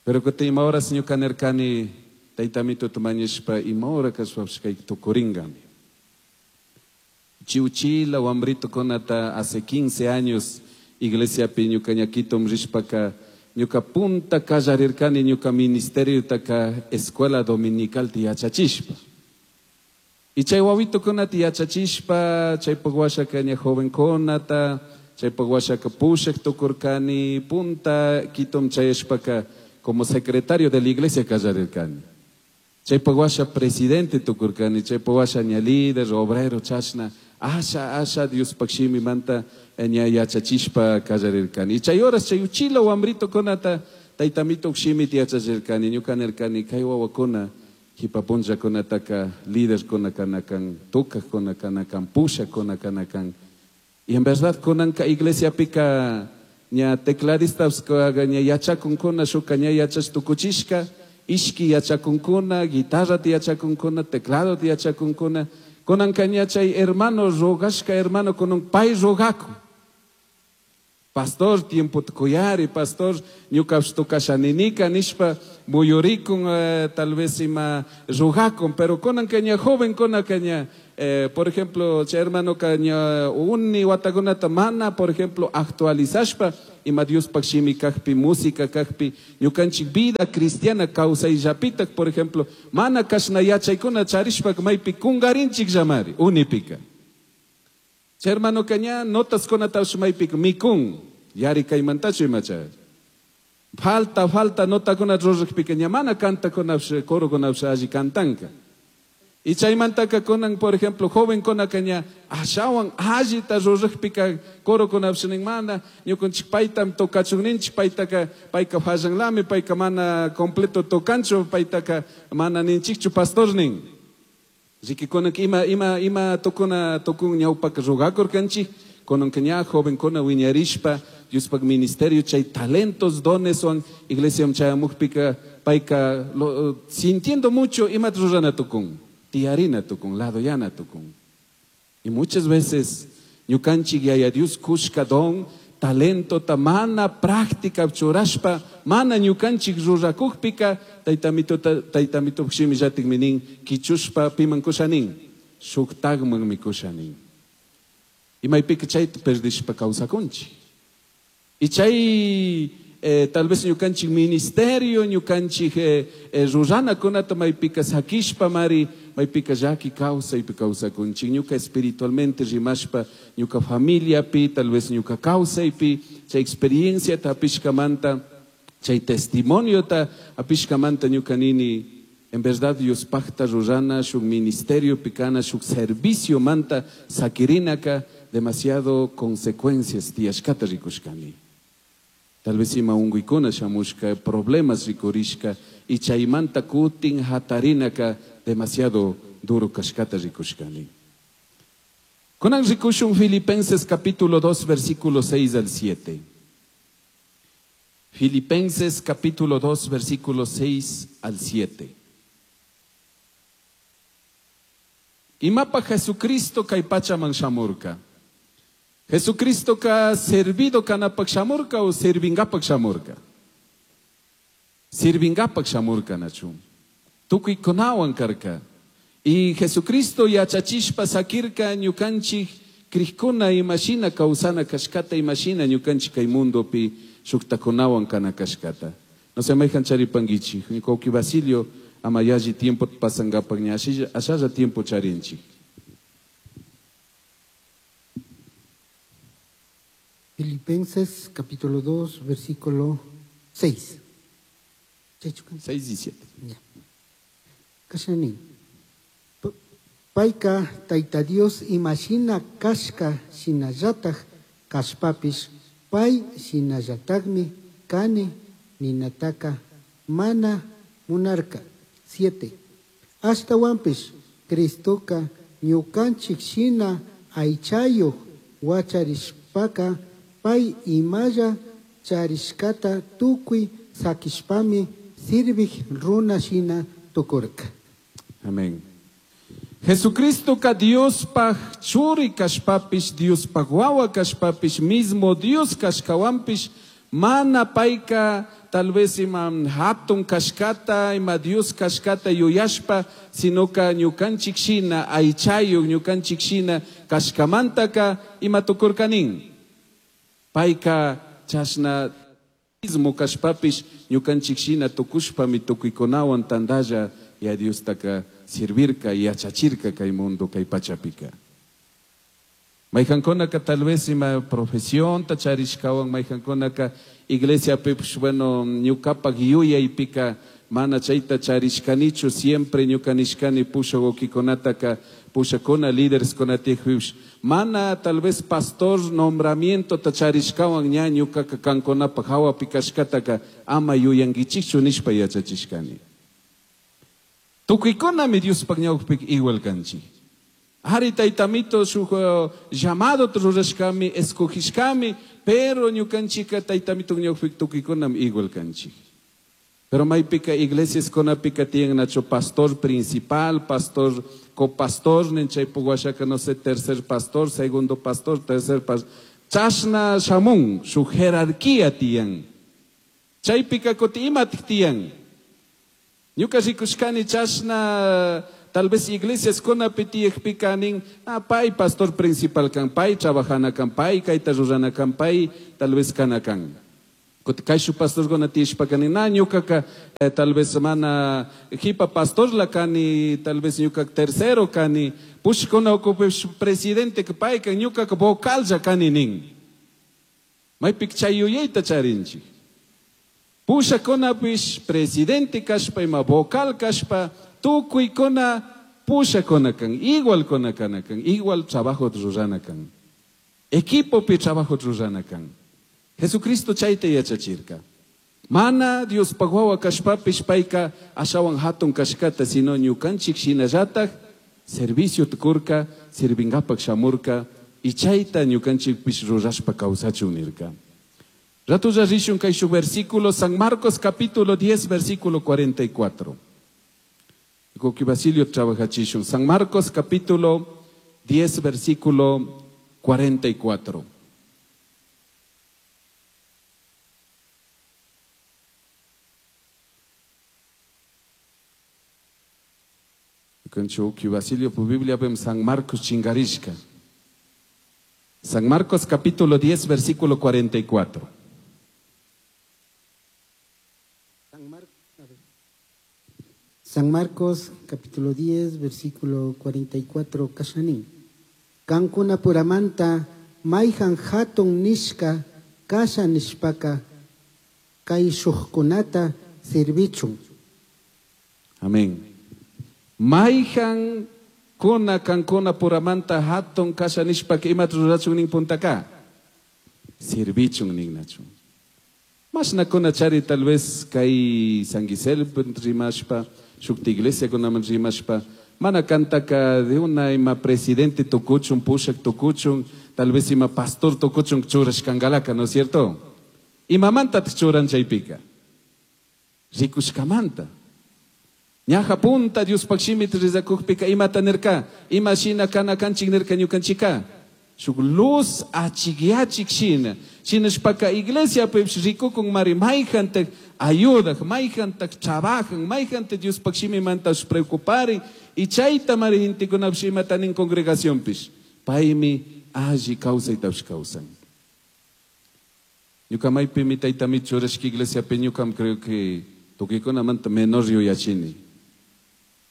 [SPEAKER 6] Pero kutin ima horas ñuka nirkani, taytamito tumañishpa, ima hora kashpapish kay tukuringami. Chiuchila, wambrito kunata, hace quince años, iglesiapi ñuka ñakitum rishpaka, ñuka punta kallarirkani ñuka ministerio taka escuela dominical ti yachachishpa. Y chay wawitukunata yachachishpa, chaypaq washaka ña jovenkunata, chaypaq washaka pushaq tukurkani, punta Quitom chayashpaka como secretario de la iglesia kallarirkani. Chaypaq washa presidente tukurkani, chaypaq washa ña líder, obrero, chashna, asha, asha, Diospaq shimimanta ña yachachishpa kallarirkani. Y chay horas chay uchila wambritukunata taytamituq shimita yachachirkani, ñuka nirkani kay wawakuna jipa punllakunataka líderkuna kanakan, tukaqkuna kanakan, pushaqkuna kanakan. Y en verdad kunanka iglesiapika ña tecladistas ña yachakunkuna shuka ña yachash tukuchishka, ishki yachakunkuna, guitarrata yachakunkuna, tecladota yachakunkuna. Kunanka ña chay hermano rogashka hermano kunan pay rogakun. Pastor, tiempo tkuyari, pastor, ñukash tukashaninika nishpa muyurikun eh, tal vez ima rugakun, pero kunan kaña joven kuna kaña, eh, por ejemplo, chay hermano kaña uni watakunata mana, por ejemplo, actualizashpa ima Diospaj shimi kajpi, música kajpi, ñukanchik vida cristiana kawsayllapitak, por ejemplo, mana kashna yachaykuna charishpa maypi kungarinchik llamari, unipika. Chay hermano kaña notas kunatash maypika mikun, yari kaymantachu imacha. Falta, falta notakuna rurajpika ña mana kantakunapish, corokunapish alli kantanka. Y chaymantaka kunan, por ejemplo, joven kunaka ña ashawan allita rurajpika corokunapish nin mana, ñukanchik paytam tocachun ninchik, paytaka, payka fallanlami, payka mana completo tocanchu, paytaka mana ninchikchu pastor nin. Riki kunan ima, ima, ima tocuna, tocun ñawpaka rugakurkanchik, kunanka ña joven kuna wiñarishpa, Diospaj ministerio chay talentos, dones wan iglesia chayamukpika payka lo, sintiendo mucho ima rurana tukun, tiyarina tukun, ladoyana tukun. Y muchas veces ñukanchik yaya Dios kushka don, talento ta mana práctica churashpa, mana ñukanchik rurakukpika, taytamito ta, taytamito shimi llatik minin, kichushpa piman kushanin, shuktagman mi kushanin. Y maypika chayta perdishpa kawsakunchik. Y chay, eh, tal vez ñukanchik ministerio, ñukanchik, eh, eh, ruranakunata maypika sakishpa mari, maypika llaki kawsaypi kawsakunchik, ñuka espiritualmente rimashpa, ñuka familiapi, tal vez ñuka kawsaypi, chay experiencia ta apishkamanta, chay testimonio ta apishkamanta ñuka nini, en verdad Dios pacta rurana, shuk ministerio pikana, shuk servicio manta sakirinaka, demasiado consecuencias tiyashkata rikushkani. Tal vez ima unguykuna shamushka, problemas rikurishka, y chaymanta kutin hatarinaka demasiado duro kashkata rikushkani. Kunan rikushun Filipenses capítulo dos, versículo seis al siete. Filipenses capítulo dos, versículo seis al siete. Imapa Jesucristo kay pachaman shamurka. Jesucristo ka servido kanapak shamurka o servingapak shamurka. Sirvingapak shamurka nachu. Tukuy kunawan karka. Y Jesucristo yachachishpa sakirka ñukanchik krikuna imashina kawsana kashkata imashina ñukanchik kay mundopi shuktakunawan kana kashkata. No se mayhan charipangichik. Ñuka Basilio ama yalli tiempo pasangapak ña ashalla tiempo charinchik.
[SPEAKER 1] Filipenses capítulo dos, versículo seis.
[SPEAKER 6] seis y siete.
[SPEAKER 1] Ya. Kashani. Paika taita Dios imashina kashka shinallataj kashpapish pay shinallatajmi kani ninataka mana munarka. Siete. Ashtawanpish Cristoka ñukanchik shina aychayuq wacharishpaka pay imalla charishkata tukuy sakishpami sirvij runa shina tukurka.
[SPEAKER 6] Amén. Jesucristo ka Diospaj churi kashpapish, Diospaj wawa kashpapish, mismo Dios kashkawanpish, mana payka tal vez ima hatun kashkata, ima Dios kashkata yuyashpa, sino ka ñukanchik shina, aychayuq ñukanchik shina kashkamantaka ima tukurkanin. Payka chashna mismo kashpapish ñukanchik shina tukushpami tukuykunawan tandalla ya Diostaka sirvirka yachachirka kay mundo kay pachapika. Mayhankunaka tal vez ima profesión ta charishkawan, mayhankunaka iglesia pipish, bueno, ñukapak yuyaypika mana chayta charishkanichu, siempre ñukanishkani pushakukikunataka pushakuna líderes kunatijpipish, mana tal vez pastor nombramiento ta charishkawan ña ñukaka kankunapak hawapi kashkataka ama yuyankichikchu nishpa yachachishkani. Tukuykunami Diospaj ñawpik igual kanchik. Ari taytamito shuk llamado rurashkami, escogishkami, pero ñukanchika taytamito ñawpik tukuykunami igual kanchik. Pero maypika iglesias kunapika tiyan nacho pastor principal, pastor copastor, nin chaypuk washaka no sé, tercer pastor, segundo pastor, tercer pastor. Chashna shamun shuk jerarquía tiyan. Chaypika kuti imatik tiyan. Ñuka rikushkani chashna tal vez iglesias kunapi tiyakpika nin, ah, pay pastor principal kan, pay trabajana kan, pay kayta rurana kan, pay tal vez kana kan. Kuti kayshu pastor kuna tiyashpaka nin, na ñukaka eh, tal vez mana jipa pastor la kani, tal vez ñuka tercero kani, pushkuna ukupi presidente ka pay kan, ñukaka vocal ja kani nin. Maypik chay yuyayta charinchik. Pushakunapish presidente kashpa ima vocal kashpa tukuykuna pushakuna kan, igual kuna kana kan, igual trabajo rurana kan. Equipopi trabajo rurana kan. Jesucristo chayta yachachirka. Mana Dios wawa kashpapish payka ashawan hatun kashkata, sino ñukanchik shinallataj servicio tukurka, sirvingapak shamurka, y chayta ñukanchikpish rurashpa kawsachun nirka. Ratulla rishun kay shuk versículo, San Marcos capítulo diez, versículo cuarenta y cuatro. Koki Basilio trabajachishun. San Marcos capítulo diez, versículo cuarenta y cuatro. Conchuki Basilio pu Biblia pem San Marcos chingarishka. San Marcos capítulo diez, versículo cuarenta y cuatro.
[SPEAKER 1] San Marcos capítulo diez, versículo cuarenta y cuatro, kashanin. Kankuna puramanta mayhan hatun nishka kasha nishpaka kay shuqkunata sirvichun.
[SPEAKER 6] Amén. Mayhan kuna kankuna puramanta hatun kasha nishpaka imata rurachun nin puntaka sirvichun ninnachun. Mashna kuna chari tal vez kay San Gisel rimashpa, shukta iglesia kunaman rimashpa, mana kantaka de una ima presidente tukuchun, pushak tukuchun, tal vez ima pastor tukuchun churashkangalaka, ¿no es cierto? Imamanta churan chaypika. Rikushkamanta. Ñaja punta Dios pakshimit rizakukpika imata nirka, ima shina kana kanchik nirka ñukanchika. Shuk luz achigyachik shina. Shinashpaka iglesia pish rikukun mari mayjantak ayudak, mayjantak trabajan, mayjante Dios pakshimimanta preocuparin, y chayta mari gentekunapish imata nin congregación pish. Paymi alli kawsaytapish kawsan. Ñuka maypimi taytami churashka iglesia pi ñukam creo que tukuykuna menor yuyachini.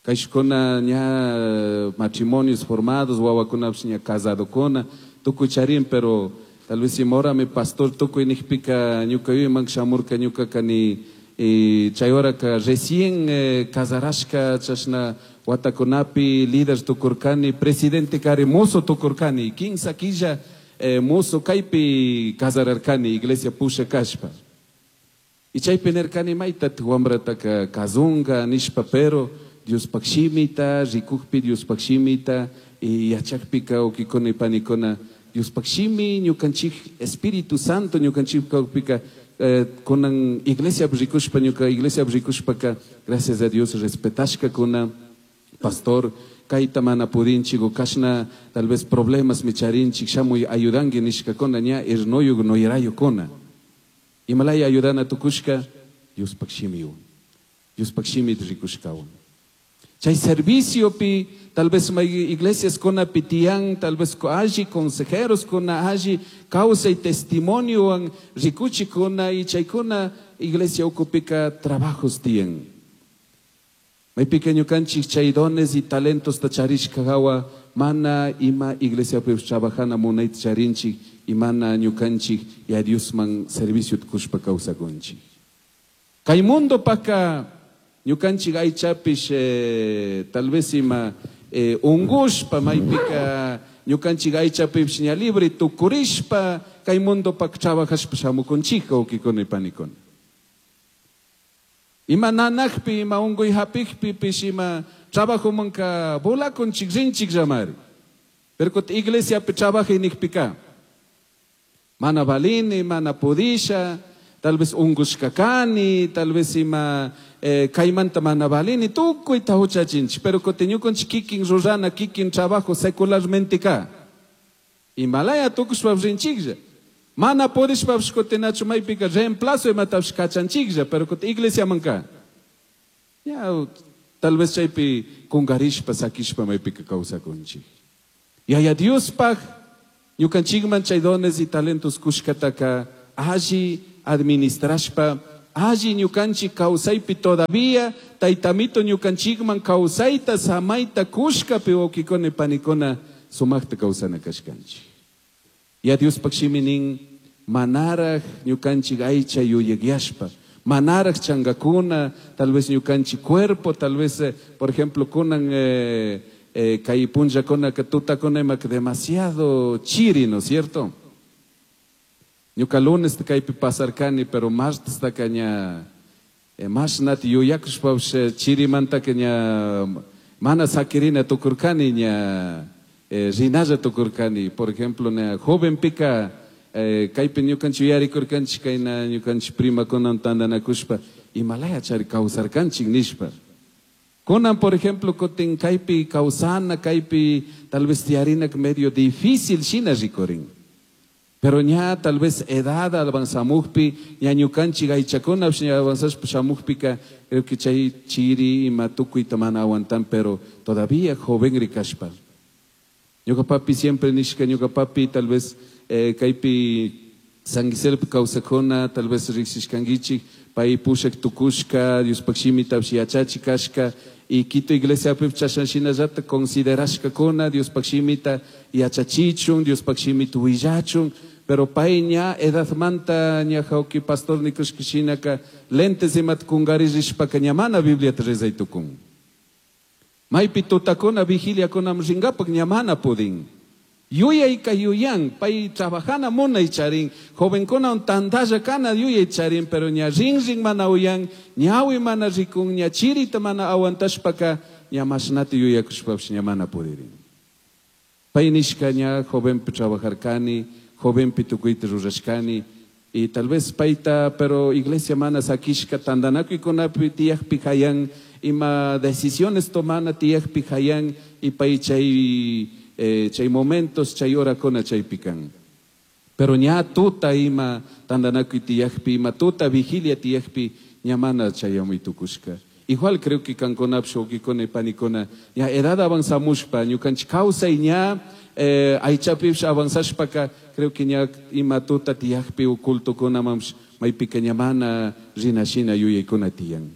[SPEAKER 6] Kayshkuna ña matrimonios formados, wawakunapish ña casadokuna, tukuy charin, pero tal vez imora mi pastor tukuy nijpika ñuka yuyman shamurka ñukaka ni chay horaka recién eh, casarashka chashna watakunapi líder tukurkani, presidente kari mozo tukurkani, kinsa killa eh, mozo kaypi casararkani iglesia pusha kashpa. Y chaypi nirkani mayta wamrataka kazunga nishpa, pero Dios pakshimita, rikukpi Dios pakshimita, y yachakpika ukikuna y panikuna, Dios pakshimi, ñukanchik Espíritu Santo, ñukanchik kaukpika, eh, kunan iglesia rikushpa, ñuka iglesia rikushpaka, gracias a Dios respetashka kuna, pastor, kayta mana pudinchik, o kashna tal vez problemas micharinchik, shamuy ayudangi nishka kuna, ña irnoyuk noyerayo kuna. Imalaya ayudana tukushka, Dios pakshimiwan, Dios pakshimit rikushkawan. Chay servicio pi, tal vez may iglesias kuna pitian, tal vez alli consejeros kuna alli causa y testimonio an rikuchi kuna y chay kuna iglesia ukupika trabajos tian. May pequeño kanchik chay dones y talentos tacharishka hawa mana ima iglesia pi trabajana munayt charinchik y mana ñukanchik y a Dios man servicio tukushpa kawsakunchik. Kay mundo paka ñukanchik aychapish eh, tal vez ima eh, ungushpa maypika ñukanchik aychapish ña libre tukurishpa kay mundo pak trabajashpa shamukunchik wawkikuna y panikuna. Ima nanakpi ima unguy hapikpi pish ima trabajomanka volakunchik rinchik llamari. Pero kuti iglesiapi trabajay nikpika mana valini, mana pudisha, tal vez ungushka kani, tal vez ima eh, kaymanta mana valini, tukuyta huchachinchik, pero kuti ñukanchik kikin rurana, kikin trabajo secularmente ka. Imalaya tukushpa rinchiklla. Mana purishpapish kutinachu maypika reemplazo imatapish kachanchiklla, pero kutin iglesiamanka. Ya, tal vez chaypi kungarishpa sakishpa maypika kawsakunchik. Yaya Diospaj ñukanchikman chay dones y talentos kushkataka alli administrashpa, alli ñukanchik kawsaypi todavía taytamito ñukanchikman kawsayta samayta kushkapi wawkikuna panikuna sumakta kawsana kashkanchik. Ya Diospaj shimi nin manaraj ñukanchik aycha yuyakyashpa, manaraj changakuna, tal vez ñukanchik cuerpo, tal vez, eh, por ejemplo, kunan, eh, eh, kay punllakuna que tutakuna imaka demasiado chiri, ¿no es cierto? Ñuka lunes kaypi pasarkani, pero martes taka ña, eh, mashnati yuyakushpapish, eh, chirimantaka ña mana sakirina tukurkani, ña, eh, rinalla tukurkani. Por ejemplo, ña jovenpika, eh, kaypi ñukanchik yuyarikurkanchik, kayna ñukanchik primakunan tantanakushpa, imalaya chari kawsarkanchik nishpa. Kunan, por ejemplo, kutin kaypi kawsana, kaypi tal vez tiyarina medio difícil shina rikurin. Pero ña tal vez edad avanzamukpi, ña ñukanchik aychakunapish ña avanzashpa shamukpika, creo que chay chiri ima tukuyta mana aguantan, pero todavía joven rikashpa. Ñuka papi siempre nishka, ñuka papi tal vez, eh, kaypi San Giselpi kawsakuna, tal vez riksishkankichik, pay pushak tukushka, Diospaj shimitapish yachachi kashka, y Quito iglesiapi chashan shinallata considerashkakuna, Diospaj shimita yachachichun, Diospaj shimita willachun, pero pay ña edadmanta ña jauki pastor nikushka shinaka lentes imat kungaririshpaka ña mana Bibliata rezay tukun. Maypi tutakuna vigiliakunam ringapak ña mana pudin. Yuyayka yuyan, pay trabajana munay charin, jovenkuna un tantalla kana yuyay charin, pero ña rin rin mana uyan, ñawi mana rikun, ña chirita mana aguantashpaka, ña mashnati yuyakushpapish ña mana pudirin. Pay nishka ña jovenpi trabajarkani, jovenpi tukuyta rurashkani, y tal vez payta, pero iglesia mana sakishka tantanakuykunapi tiyakpi hayan, ima decisiones tomana tiyakpi hayan, y pay chay, eh, chay momentos, chay horakuna chaypikan. Pero ña tuta ima tantanakuy tiyakpi, ima tuta vigilia tiyakpi, ña mana chayamuy tukushka. Igual creo que kankunapish, wawkikuna y panikuna, ña edad avanzamushpa, ñukanchik kawsay ña, eh, aychapish avanzashpaka, creo que ña ima tuta tiyakpi u cultokunamampish, maypika ña mana rinashina yuyaykuna tiyan.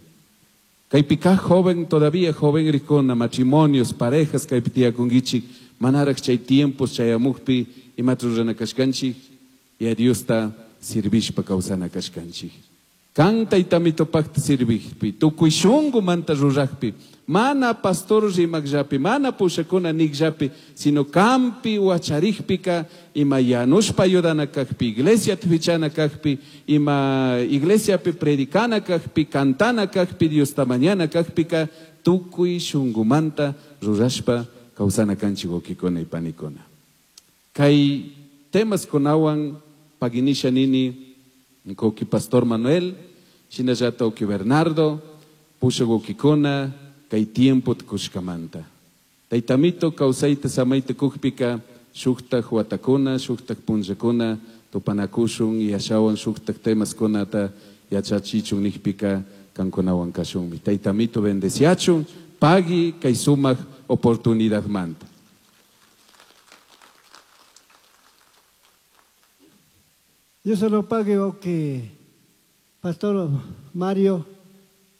[SPEAKER 6] Kaypika joven, todavía joven rikuna, matrimonios, parejas kaypi tiyakunkichik, manaraj chay tiempos chayamukpi imata rurana kashkanchik, y a Diosta sirvishpa kawsana kashkanchik. Kan taytamitopakta sirvijpi, tukuy shunkumanta rurajpi, mana pastor rimakllapi, mana pushakuna nikllapi, sino kampi wacharijpika, ima yanushpa ayudana kajpi, iglesia tvichana kajpi, ima iglesiapi predicana kajpi, cantana kajpi, Diosta mañana kajpika, tukuy shunkumanta rurashpa kawsana kanchik wawkikuna y panikuna. Kay temas kunawan paginisha nini, wawki Pastor Manuel, shinallata wawki Bernardo, pusha wawkikuna, kay tiempo tukushkamanta. Taytamito kawsayta samayta kukpika, shuktak watakuna, shuktak punllakuna, tupanakushun, yashawan shuktak temas kunata yachachichun nikpika kankunawan kashunmi. Taytamito bendeciachun, pagi kay sumak oportunidad manta.
[SPEAKER 2] Dios se lo pague, que Pastor Mario,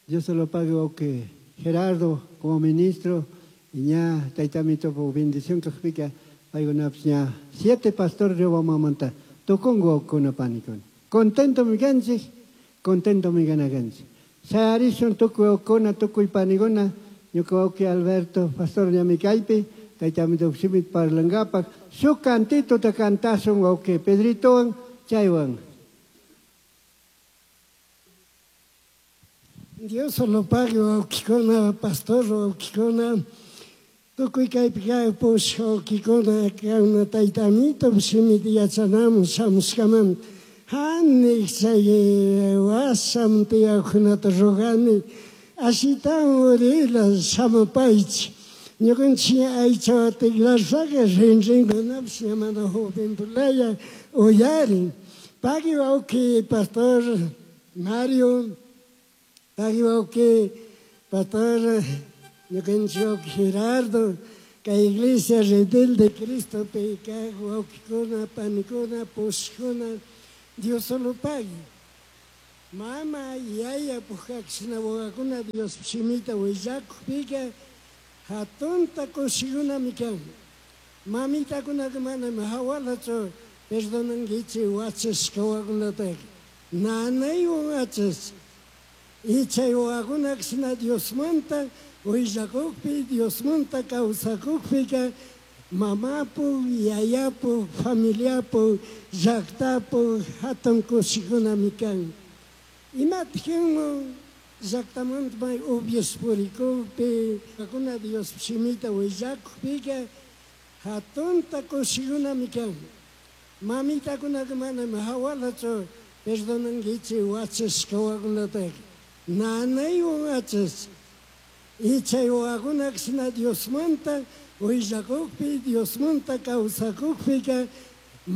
[SPEAKER 2] Dios se lo pague, que Gerardo como ministro, y ña taytamito por bendición que explica, hay una ña siete pastores yo vamos a montar. Tocongo con una pánico. Contento mi ganche, contento mi ganaganche. Sayarishon toco con toco y panigona, yo creo que Alberto, pastor de mi caipe, taytamito simit parlangapa, su cantito te cantason, ok, Pedrito, chaywan.
[SPEAKER 7] Dios lo pague, wawkikuna, pastor, wawkikuna, tukuy kaypi kaypush, wawkikuna, kana taytamito shimita yachanamun shamushkamanta. Hanik chay wasam tiyaqkunata rugani, ashitan urila shamupaychik. Ñukanchik aycha tikrashpaqa rinrinkunapish mana jovenpulaya uyarin. Pagui wawki pastor Mario, pagui wawki pastor ñukanchik Gerardo, kay iglesia Redil de Cristo kay wawkikuna, panikuna, pushkuna, Dios solo pagui. Mama, yaya, pujkakshina wawakuna Dios shimita willakukpika hatunta kushikunami kan. Mamitakunaka manami hawalachu perdonankichik wachashka wawakunataka. Nanaywan wachash. Y chay wawakunakshina Diosmanta willakukpi, Diosmanta kawsakukpika mamapu, yayapu, familiapu, llaqtapu hatun kushikunami kan. Imatijinmu llaqtamanta may upiash purikukpi, kuna Dios shimita willakukpika hatunta kushikunami kan. Mamitakunaka manami hawalachu perdonankichik wachashka wawakunataka. Nanaywan wachash. Y chay wawakunakshina Diosmanta willakukpi, Diosmanta kawsakukpika